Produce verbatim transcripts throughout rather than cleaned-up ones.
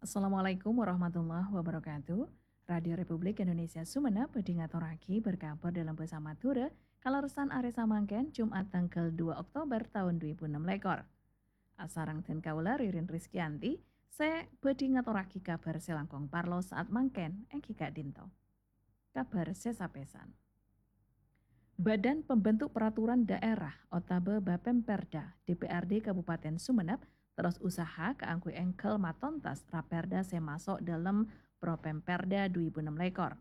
Assalamualaikum warahmatullahi wabarakatuh. Radio Republik Indonesia Sumenep bhâdhi ngatorraghi berkabar dâlem bhâsa Madhurâ, kalerressan arè samangkèn, Jumat tangghâl dua Oktober taon dhu èbu ennem lèkor. Asareng dhân kaulâ Ririn Rizkyanti, sè bhâdhi ngatorraghi kabhâr sè langkong parlo saat mangkèn, èngghi ka'dinto. Kabhâr sè sapèsan. Badan Pembentuk Peraturan Daerah otabâ Bapemperda D P R D Kabupaten Sumenep terros usaha kaangghuy èngghâl matontas raperda sè maso' dâlem Propemperda dhu èbu ennem lèkor.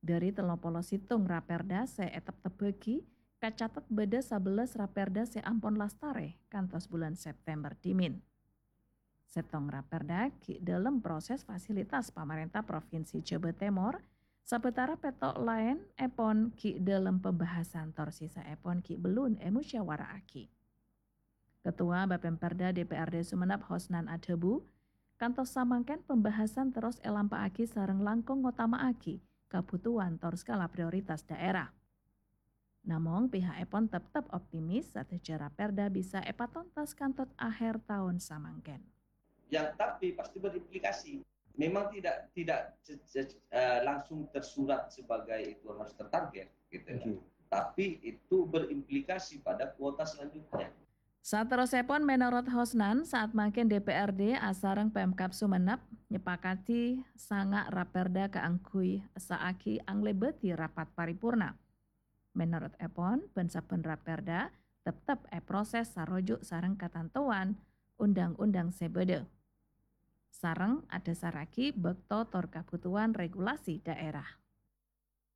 Dâri tello polo sèttong raperda sè èteptebbhâghi, kacatet bâdâ sabellâs raperda sè ampon lastarè kantos bulân September dhimèn. Sèttong raperda ghi' dâlem proses fasilitas pamarènta Provinsi Jhâbâ Tèmor, sabâtara pètto' laèn èpon ghi' dâlem pembahasan tor sèsaèpon ghi' bellun èmusyawara'aghi. Ketua Bapemperda D P R D Sumenep Hosnan adhâbu, kantos samangkèn pembahasan terros èlampa'aghi sareng langkong ngotama'aghi kabhutowan tor skala prioritas daerah. Namong, piha'èpon teptep optimis sadhâjâ raperda bisa èpatontas kantos aher taon samangkèn. Yang tapi pasti berimplikasi. Memang tidak tidak ce- ce- eh, langsung tersurat sebagai itu harus tertarget gitu ya. Oke. Tapi itu berimplikasi pada kuota selanjutnya. Saterrossèpon, mènorot Hosnan, saat mangkèn D P R D asareng Pemkab Sumenep nyepakati sanga' raperda kaangghuy essa'aghi anglèbâdhi rapat paripurna. Mènorot èpon, bân-sabbhân raperda teptep èproses saroju' sareng katantowan undang-undang sè bâdâ, sareng adhâsarraghi bâkto tor kabhutowan regulasi daerah.